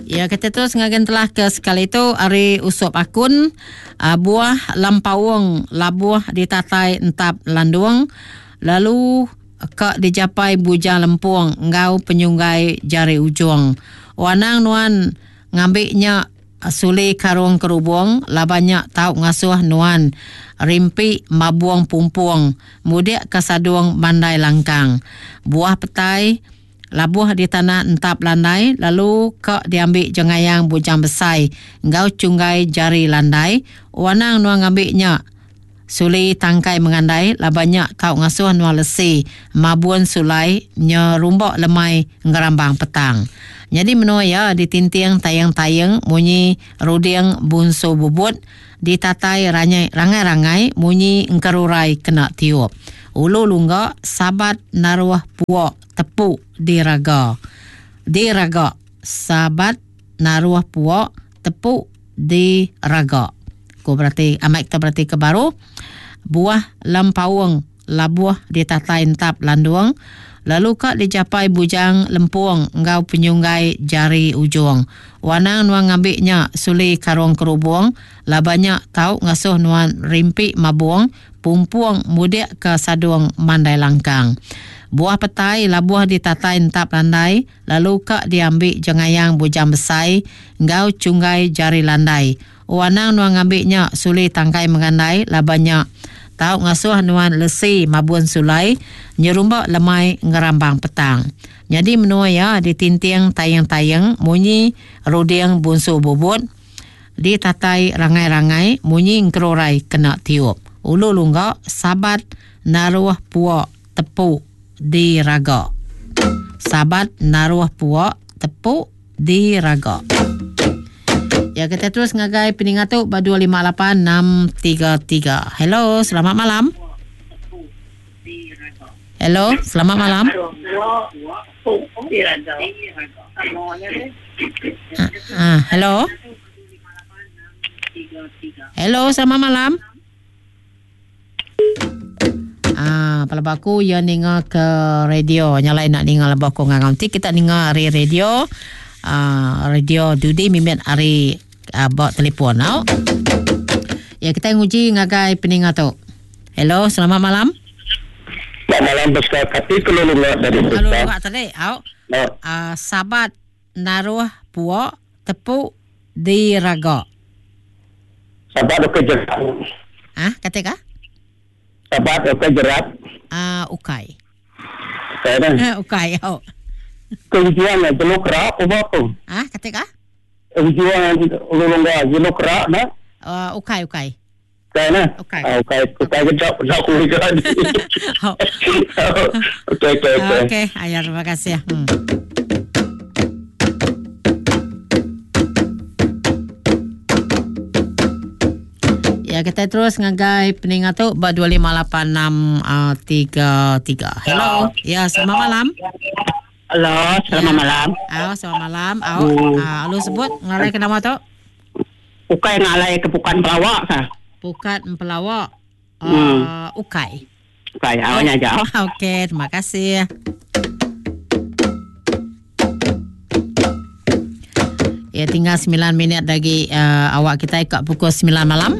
Ya kita terus ngagen telah ke sekali tu ari Usop Akun uh, buah lampaung labuh ditatai entap landung lalu ka dijapai bujang lempung enggau penyunggai jari ujung. Wanang nuan ngambi nya Suli karung kerubung laban nya tau ngasuh nuan rimpi mabung pumpung mudik ka sadung mandai langkang. Buah petai labuh di tanah entap landai lalu ka diambi jengayang bujang besai enggau chunggai jari landai. Wanang nuan ngambi nya Suli tangkai mengandai laban nya tau ngasuh nuan lesi mabun sulai nyerumba lemai ngerambang petang. Nyadi menua iya ditinting taying-taying munyi ruding bunsu bubut, ditatai ranyai rangai-rangai munyi engkerurai kena tiup. Ulu lungga sabat naruh puok tepu diraga. Diraga sabat naruh puok tepu diraga. Ku berati amai kita berati ke baru buah lempaung labuh ditatai entap landung lalu ka dijapai bujang lempung enggau penyunggai jari ujung. Wanang nuan ngambi nya suli karung kerubung laban nya tau ngasuh nuan rimpi mabung pumpung mudik ka sadung mandai langkang. Buah petai labuh ditatai entap landai lalu ka diambi jengayang bujang besai enggau chunggai jari landai. O anang nuan ngambi nya suli tangkai mengandai laban nya tau ngasuh nuan lesi mabun sulai nyerumba lemai ngerambang petang. Nyadi menua iya ditinting taying-taying munyi ruding bunsu bubut, ditatai rangai-rangai munyi engkerurai kena tiup. Ulu lungga sabat naruh puak tepu diraga. Sabat naruh puak tepu diraga. Ya kita terus ngagai peninga tu ba 258633. Hello, selamat malam. Hello, selamat malam. Ah, hello. Hello, selamat malam. Ah, pelaba aku iya ninga ke radio. Nya lai nak ninga lebuh aku ngangau. Enti kita ninga ari radio, ah, radio dudi mimit ari ah, ba telefon au. Ya kita nguji ngagai peninga tu. Hello, selamat malam. Selamat malam Pascal. Kati ke lu lunga tadi Pascal? Lu lunga tadi, au. Ah, sabat naruh puak tepu diraga. Sabat ukai jerat. Ah, kata ka? Sabat ukai jerat. Ah, ukai. Ukai dah. Eh, ukai, au. Kehujuan eh, jelu kerak apa tu? Ah, kata ka? Kehujuan lu longga jelu kerak dah. Uh, ukai, ukai. Ukai nah. Ukai. Ah, ukai, ukai kedap, kedap aku juga. Okey, okey, okey. Okey, ayah terima kasih. Ya, kita terus ngagai peninga tu ba 258633. Hello. Ya, selamat malam. Halo, selamat ya. malam. Oh, selamat malam. Oh, uh, lu sebut ngalai ke nama tu? Ukai ngalai ke Pukat Empelawak ka? Pukat Empelawak. Hmm. Uh, ukai. Ukai, awak nya aja. Okey, terima kasih. Ya tinggal 9 minit lagi uh, awak kita kat pukul 9 malam.